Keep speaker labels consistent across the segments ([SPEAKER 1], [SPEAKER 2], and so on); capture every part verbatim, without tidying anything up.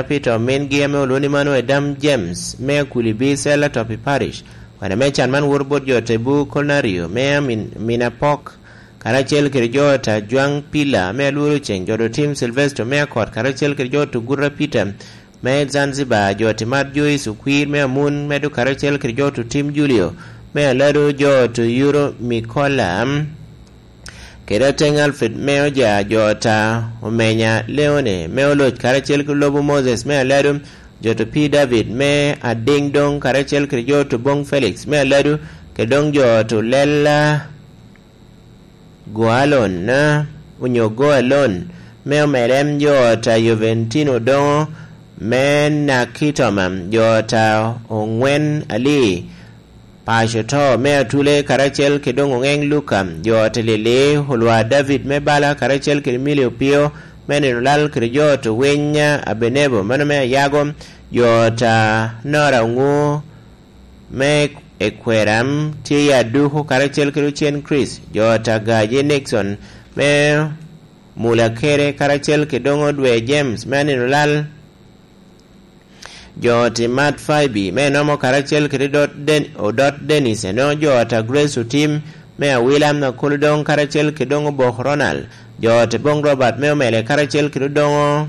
[SPEAKER 1] Peter Omingi me olwoni mano Edam James me Kulibi Sela Topi Parish wana me chan man wor bot jo Tebu Colnario me min, Minapok karacel kede jo ta Juang Pila me Alworo Ceng jo Tim Sylvester me Akot karacel kede jo Tugura Peter me Zanzibar jo Timat Joyce Okwir me Amun medo karacel kede jo Tim Julio me Alado jo Yuro Mikola kede teng Alfred me oja jo ta Omenya Leone me oloc karacel ki lobo Moses me Alado jo to P David me Ading Dong karacel kede jo to Bong Felix me Alado kede dong jo to Lela Goalon na onyo Goalon me omerem jo ta Juventino Dongo me Nakitoma jo ta Ongwen Ali Paco to me atule karacel ki dong ongeng Luka jo te lele hulwa David me bala karacel ki Emilio Pio me nino lal kede jo to wenya Abenebo mano me ayago jo ta Nora Ungu me ekweram tye ya duku karacel kede Chen Chris jo ta Gaje Nixon me Mulakere karacel ki dong Odwe James me nino lal jo ti Matt Faibi me nomo karacel kede dot den odot Dennis eno jo ta Grace Utim me awila na kuludong karacel kidongo Bok Ronald jo ti Bong Robert me omele karacel kede dongo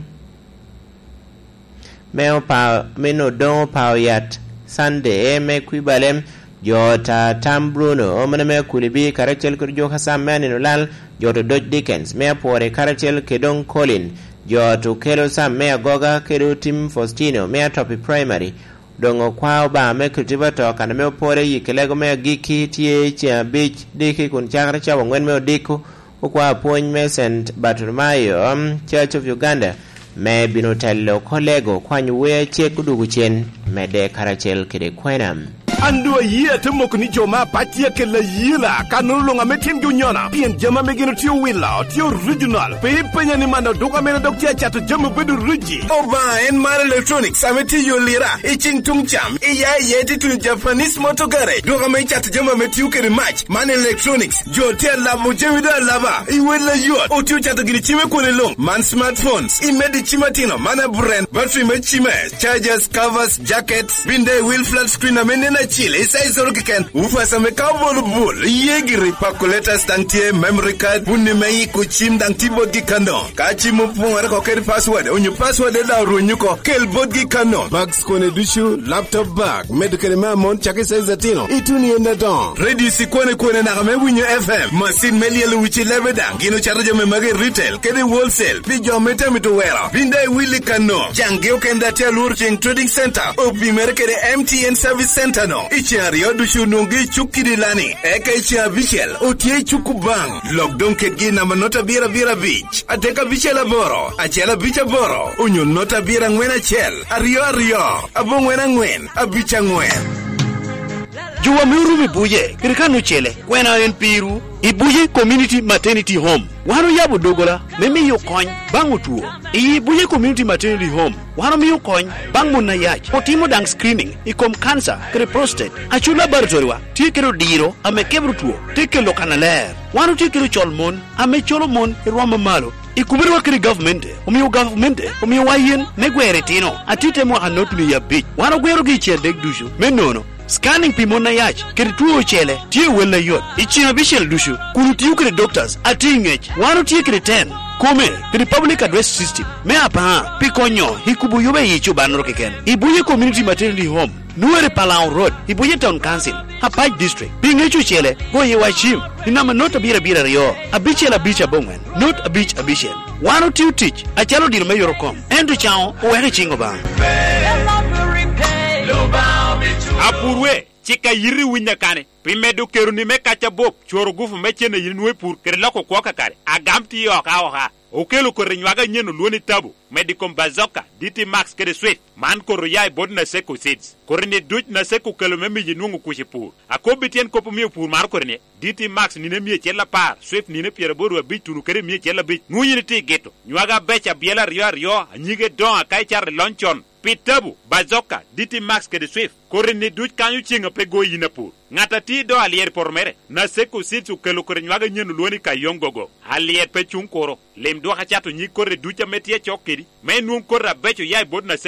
[SPEAKER 1] me opa meno dongo pao yat Sunday me kwibalem jo ta Tam Bruno omene me kulibi karacel kede jo Hassan me anino lal jo to Dodge Dickens me apore karacel kedong Colin jo to kelo sam me agoga kedo Tim Faustino me atopi primary dongo kwao ba me kultiva to kana me opore yikelego me agiki tie cha bich diki kun chakre cha ngwen me odiko okwa puony me St Bartolomayo um, Church of Uganda me bino telo kolego kwanyo we chek dugu chen mede karacel kede kwenam
[SPEAKER 2] Andu yie te moko ni jo ma patie ke la yila kanu lunga me tim junyona pien jama me gino tiyo wila tiyo original pe penya ni mano duka mena dok tia chato jama bedo ruji oba en mar electronics ame tiyo lira i ching tung cham i ya ye ti tu Japanese motor garage duka me chato jama me tiyo kere match man electronics jo tia la mo jemi da lava i wela yot o tiyo chato gini chime kone long man smartphones i medi chimatino mana brand battery me chime chargers covers jackets binde wheel flat screen ame nena chile isai soro kiken ufasa me kabol bul yegiri calculator stantie memory card bunni me kuchim dang tibot gi kano ka chimu pungare ko ker password onyu password da runyu ko kel bot gi kano bags kone dushu laptop bag medical ma mon chake sai zatino ituni enda don ready si kone kone na me winyo F M machine me lielu wichi lebe dang gino charge me mage retail kede wholesale bi jo mete mi to wera binde willy kano jangi okenda tia lur cheng trading center opi mere kede M T N service center no ichi ariyo ducu nongi chukidi lani eka ichi abicel otie chuku bang lockdown ketgi namba nota abiro abiro abich adek abicel aboro achiel abich aboro onyo nota abiro ang'wen achiel ariyo ariyo abong'wen ang'wen abich ang'wen.
[SPEAKER 3] Juwa miuru mibuje kirikanu chele kwena en piru ibuje community maternity home wano yabo dogola memiyo kony bang' otuo iyi Buye community maternity home wano miyo kony bang' mon na yach otimo dang screening ikom kansa kede prostate achu laboratory wa tie kedo diro ame kebro tuo te kelo kana ler wano tie kedo chol mon ame cholo mon e rwom mamalo ikubirwa kede government omiyo government omiyo wa yien me gwere tino atite mwaka not miya abich wano gwero gi chiel dek ducu me nono scanning pi mon na yach kede tuo chele tie wel na yot ichieng' abicel ducu kun tiyo kede doctors ati ng'ech wano tie kede ten kome kede public address system me apaa pi konyo ikubu yube yichu banro keken Ibuye community maternity home nuere Palau Road Ibuye Town Council Apac District pi ng'echo chele go ye wachim ni namba not abiro abiro ariyo abicel abich abong'wen not abich abicel wano tiyo tich achalo diro me yoro kom ento chao oweke chingo bang'
[SPEAKER 4] Apurwe cika yiri winya kane pi medo keruni me kaca bop coro gufu me cene yin nwe pur kede loko kwo kakare agam ti oka oka okelo kore nywaga nyen olwoni tabo medikom bazoka D T Max kede Swift man koro yai bod na seko seeds kore ni duc na seko kelo me miyi nwongo kuci pur akobi tyen kopo miyo pur mar kore ni D T Max nine mia achiel apar Swift nine piero aboro abic tunu kede mia achiel abic nwonyi ni ti gito nywaga bec abiel aryo aryo anyige dongo aka icato ilony con. Pi Tabu, Bazoka, DT Max kede Swift, kori ni duc kanyo cenga pe go yin apur. Ng'at ati do alier por mere, Naseko Seeds okelo kore nywaga nyen oluoni ka yongogo. Alier pe chung koro. Lim dwaka chato nyig kore duca me tie chok kedi. Me nwong kore abecho yai bot Naseko